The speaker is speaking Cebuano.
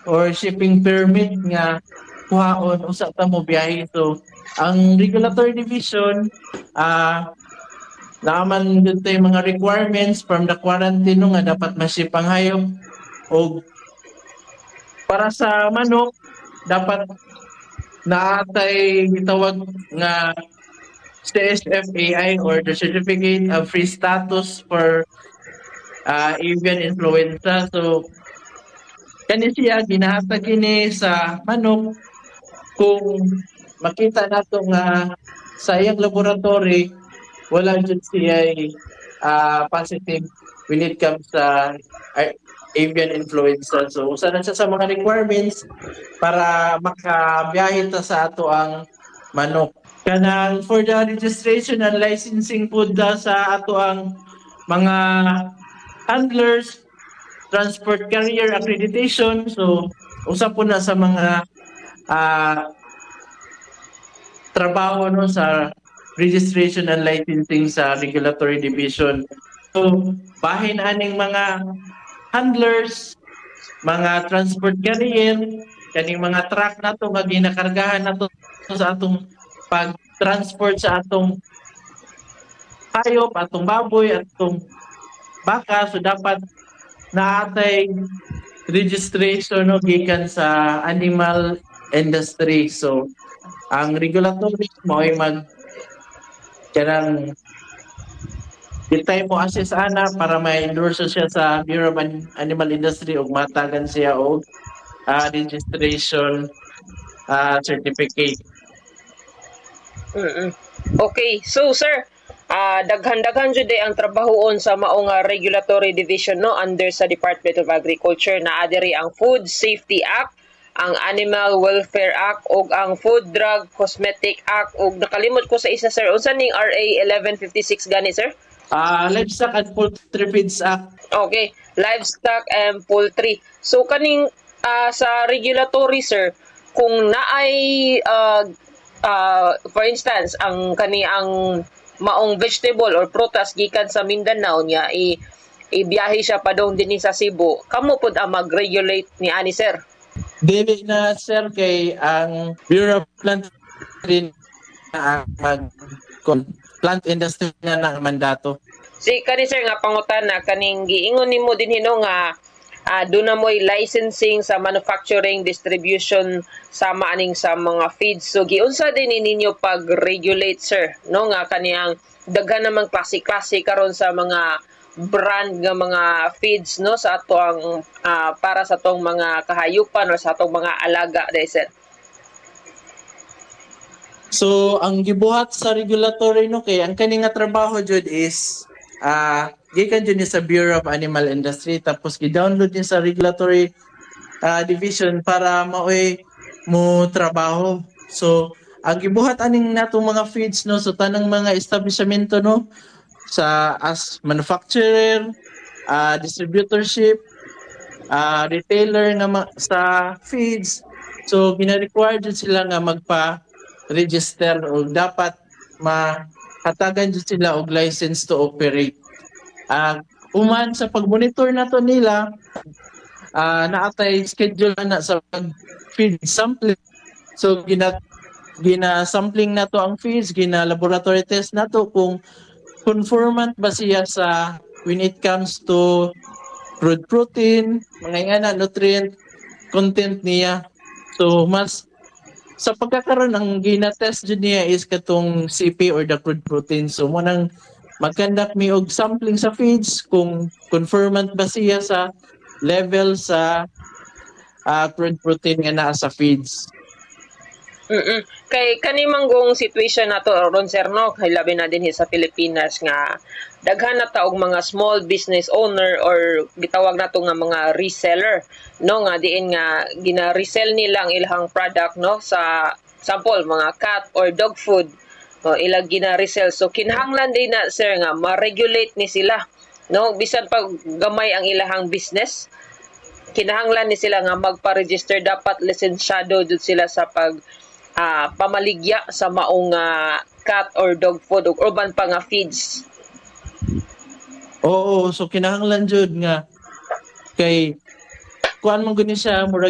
or shipping permit nga kuhaon usa ta mo biyahe. So ang regulatory division, naaman dito yung mga requirements from the quarantine, no, nga dapat ma-ship ang hayop, og para sa manok dapat naatay gitawag nga CSFAI or the Certificate of Free Status for Avian Influenza. So kani siya ginahatag kini sa manok kung makita nato nga sa iyang laboratory wala jud siya positive when it comes sa avian influenza. So usa na siya sa mga requirements para makabiyahe ta sa ato ang manok. Kanang for the registration and licensing pud da sa ato ang mga handlers, transport carrier accreditation. So usa po na sa mga trabaho, no, sa registration and licensing sa regulatory division. So bahin aning mga handlers, mga transport carrier, kaning mga truck nato nga ginakargahan nato sa atong pag-transport sa atong hayop, atong baboy, atong baka, so dapat naatay registration, no, gikan sa animal industry. So ang regulatory mo ay mag kanang ditay mo assess ana para ma-endorse siya sa Bureau of Animal Industry ug matagan siya og registration certificate. Okay, so sir, daghan-daghan jud ang trabahoon sa mao nga regulatory division, no, under sa Department of Agriculture. Naa diri ang Food Safety Act, ang Animal Welfare Act ug ang Food Drug Cosmetic Act, ug nakalimot ko sa isa, sir. Unsa ning RA 1156 gani, sir? Livestock and Poultry Feeds Act. Okay, livestock and poultry. So kaning sa regulatory, sir, kung naay for instance, ang kani ang maong vegetable or prutas gikan sa Mindanao niya i ibiyahe siya padung dinhi sa Cebu, kamo pud ang mag-regulate ni ani, sir? Dili na, sir, kay ang Bureau of Plant na ang mag plant industry na na ang mandato. Si kani, sir, nga pangutana, kaning giingon nimo dinhi, no, nga doon na mo'y licensing sa manufacturing, distribution sama aning sa mga feeds. So giunsa din ni ninyo pag-regulate, sir, no, nga kaniyang daghan namang klase-klase karon sa mga brand nga mga feeds, no, sa ato ang para sa atong mga kahayupan or sa atong mga alaga dai, sir? So ang gibuhat sa regulatory, no, kay ang kani nga trabaho jud is gikan jud ni sa Bureau of Animal Industry, tapos gi-download ni sa regulatory division para maoy mo trabaho. So ang gibuhat aning natong mga feeds, no, so tanang mga establishmento, no, sa as manufacturer, distributorship, retailer nga sa feeds. So gina-require jud sila nga magpa register o dapat mahatagan jud sila og license to operate. Uman sa pag-monitor nato nila, naatay schedule na sa feed sampling. So gina gina sampling nato ang feeds, gina laboratory test nato kung conformant ba siya sa when it comes to crude protein, mga ingana, nutrient content niya. So mas sa pagkakaroon, ang gina-test jud niya is katong CP or the crude protein. So mo nang mag-conduct mi og sampling sa feeds kung conformant ba siya sa level sa crude protein nga naa sa feeds. Kay kani manggong situation nato ron, sir, no, kay labi na dinhi sa Pilipinas nga daghan na ta og mga small business owner or gitawag nato nga mga reseller, no, nga diin nga gina-resell nila ang ilang product, no, sa sample mga cat or dog food, no, ilang gina-resell. So kinahanglan din na, sir, nga ma-regulate ni sila, no, bisan pag gamay ang ilahang business, kinahanglan ni sila nga magpa-register, dapat lisensyado jud sila sa pag pamaligya sa maong cat or dog food ug uban pa nga feeds. Oo, so kinahanglan jud nga kay kuan man guni siya murag